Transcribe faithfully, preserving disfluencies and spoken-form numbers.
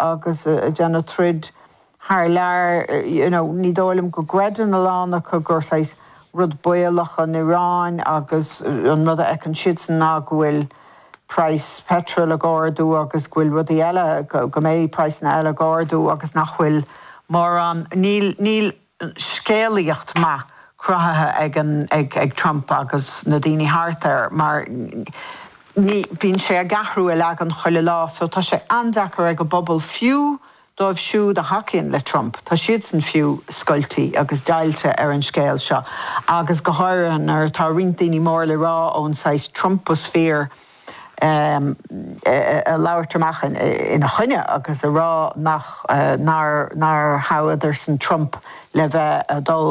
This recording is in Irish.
agus ag déanamh troid thar lear you know, ní dóigh liom go gcreideann a lán acu gur saghas rud baolach an Iaráin agus an rud a fheiceann siadsan ná go bhfuil price petrol ag ardú agus go bhfuil rudaí eile go mbeidh praghsanna eile ag ardú agus nach bhfuil mórán níl níl scéalaíocht maith cruthaithe ag an ag, ag Trump agus na daoine thart air mar ní bíonn sé ag athrú a leagan chuile lá, so tá sé an-deacair ag an bpobal fiú dóibh siúd a thacaíonn le Trump. Tá siadsan fiú scoilte agus deighilte ar an scéal seo. agus go háirithe nuair atá roinnt daoine mór le rá ón saghas Trumposphere um, a labhairt amach ina choinne agus a rá nach uh, nár nár thoghadar-san Trump le bheith a dul